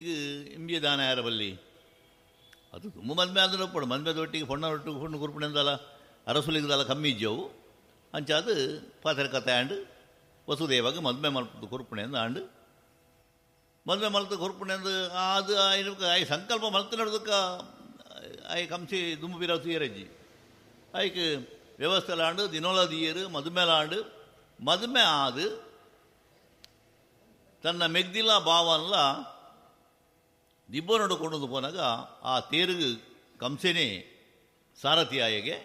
ಇಂಬಿಯ ದಾನ ಯಾರ ಬಲ್ಲಿ ಅದು ತುಂಬ ಮದ್ಮೆ ಆದ್ರೆ ಒಪ್ಪಡು ಮದ್ಮೆದೊಟ್ಟಿಗೆ ಪೊಣ್ಣನೊಟ್ಟಿಗೆ ಪೊಣ್ಣು ಕುರ್ಪುಣೆಂದಲ ಅರಸುಲಿಗದಲ್ಲ ಕಮ್ಮಿ ಇಜ್ಜವು ಅಂಚಾದ ಪಾತ್ರ ಕಥೆ ಆಂಡ್ ವಸುದೇವಾಗ ಮದ್ಮೆ ಮಲ್ಪದ ಕುರ್ಪುಣೆಂದು ಆಂಡ್ ಮದ್ಮೆ ಮಲ್ತ ಕುರ್ಪುಣೆಂದು ಅದು ಆಯ್ ಸಂಕಲ್ಪ ಮಲ್ತ ನಡ್ದಕ್ಕ ಆಯ್ ಕಂಸಿ ದುಂಬು ಬಿರಾವ್ ತೀರಜ್ಜಿ ಆಯ್ಕೆ ವ್ಯವಸ್ಥೆಲಾಂಡು ದಿನೋಲ ದಿಯರು ಮದುಮೆಲಾಂಡು ಮದುಮೆ ಆದು ತನ್ನ ಮೆಗ್ದಿಲ್ಲ ಭಾವನ್ಲ ದಿಬ್ಬನೊಡು ಕೊಂಡು ಪೋನಾಗ ಆ ತೇರುಗು ಕಂಸೆನೇ ಸಾರಥಿಯಾಯಗೆ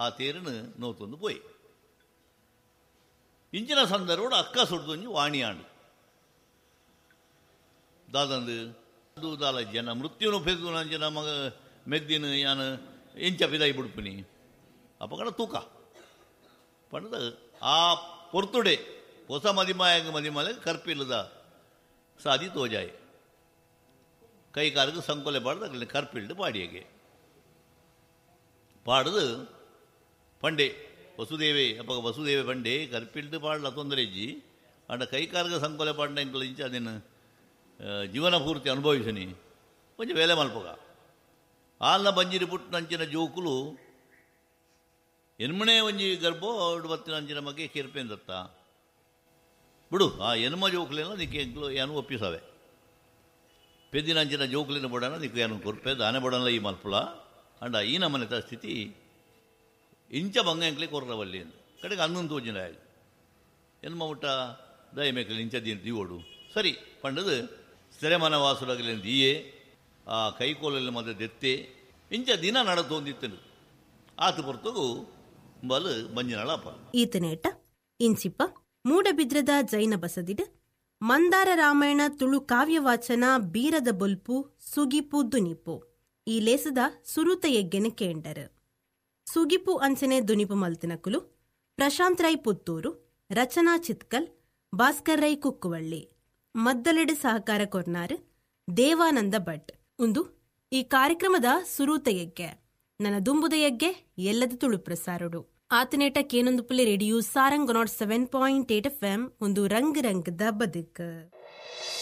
ಆ ತೇರನ್ನು ನೋತೊಂದು ಪೋಯಿ. ಇಂಚಿನ ಸಂದರ್ಭ ಅಕ್ಕ ಸುಡ್ದೊಂಜಿ ವಾಣಿಯಾಂಡು ದಾದಂದು ಅದು ದಾಲ ಜನ ಮೃತ್ಯುನು ಪೆದ್ದು ನಂಚಿನ ಮಗ ಮೆದ್ದಿನ ಯಾನು ಎಂಚ ಪಿದಾಯಿ ಬಿಡ್ಪಿನಿ ಅಪ್ಪಗಡ ತೂಕ ಪಂಡದ ಆ ಪೊರ್ತುಡೆ ಹೊಸ ಮದಿಮಾಯಂಗ ಮದಿಮಾಲೆ ಕರ್ಪಿಲ್ಲದ ಸಾದಿ ತೋಜಾಯಿ ಕೈ ಕಾಲಿಗೆ ಸಂಕೊಲೆ ಪಾಡ್ದು ಅಗಲಿನ ಕರ್ಪಿಲ್ಡು ಪಾಡಿಯಗೆ ಪಾಡ್ದು ಪಂಡೆ ವಸುದೇವೆ ಅಪ್ಪ ವಸುದೇವೆ ಪಂಡೆ ಕರ್ಪಿಲ್ಡು ಪಾಡಲ ತೊಂದರೆ ಇಜ್ಜಿ ಅಂಡ ಕೈ ಕಾಲಿಗೆ ಸಂಕೊಲೆ ಪಾಡ್ನ ಎಂಕಲ್ ಇಂಚ ಅದೇನು ಜೀವನ ಪೂರ್ತಿ ಅನುಭವಿಸನಿ ಒಂಜಿ ವೇಲೆ ಮಲ್ಪಗ ಆಲ್ನ ಬಂಜಿರಿ ಪುಟ್ಟನಂಚಿನ ಜೋಕುಲು ಎನ್ಮಣೆ ಒಂಜಿ ಗರ್ಭೋ ಬತ್ತಿನಂಚಿನ ಮಗೆ ಕಿರ್ಪೇಂದತ್ತ ಬಿಡು ಆ ಎನ್ಮ ಜೋಕುಲೆಲ್ಲ ನಿಕ್ಕೆ ಎಂಕ್ಲು ಏನು ಒಪ್ಪಿಸವೆ ಪೆದ್ದಿನಂಚಿನ ಜೋಕುಲಿನ ಬಡನ ನಿಕ್ಕು ಏನು ಕೊರ್ಪೆ ದಾನೆ ಬಡನ ಈ ಮಲ್ಪುಲ ಅಂಡ ಈ ನಮ್ಮನೆತ ಸ್ಥಿತಿ ಇಂಚ ಬಂಗ ಎಂಕ್ಲೆ ಕೊರ್ರವಲ್ಲಿ ಎಂದು ಕಡೆಗೆ ಅನ್ನೊಂದು ತೋಜಿನ ಎನ್ಮ ಮುಟ್ಟ ದಯ ಮೇಕಲಿ ಇಂಚ ದೀವೋಡು ಸರಿ ಪಂಡದು ಸೆರೆಮನವಾಸುಲಗಲಿ ದೀಯೆ ಆ ಕೈಕೋಲಲ್ಲಿ ಮದ ದೆತ್ತೆ ಇಂಚ ದಿನ ನಡತೊಂದಿತ್ತನು ಆತ ಪೊರ್ತಗು ಬಲು ಮಂಜಿನಳಪ್ಪ. ಈತನೇಟ ಇಂಚಿಪ ಮೂಡಬಿದ್ರದ ಜೈನ ಬಸದಿಡ್ ಮಂದಾರ ರಾಮಾಯಣ ತುಳು ಕಾವ್ಯವಾಚನ ಬೀರದ ಬೊಲ್ಪು ಸುಗಿಪು ದುನಿಪು ಈ ಲೇಸದ ಸುರುತ ಯಜ್ಞನ ಕೇಂಡರು. ಸುಗಿಪು ಅಂಚನೆ ದುನಿಪು ಮಲ್ತಿನಕುಲು ಪ್ರಶಾಂತ್ ರೈ ಪುತ್ತೂರು, ರಚನಾ ಚಿತ್ಕಲ್, ಭಾಸ್ಕರ್ ರೈ ಕುಕ್ಕುವಳ್ಳಿ, ಮದ್ದಲೆಡೆ ಸಹಕಾರ ಕೊರ್ನಾರು ದೇವಾನಂದ ಭಟ್. ಉಂದು ಈ ಕಾರ್ಯಕ್ರಮದ ಸುರೂತ ಯಜ್ಞೆ. ನನ್ನ ದುಂಬುದ ಯಜ್ಞೆ ಎಲ್ಲದ ತುಳು ಪ್ರಸಾರಡು. ಆತನೇಟ ಕೇನೊಂದು ಪುಲಿ ರೇಡಿಯೋ ಸಾರಂಗ್ 107.8 FM ಒಂದು ರಂಗ್ ರಂಗದ ಬದುಕು.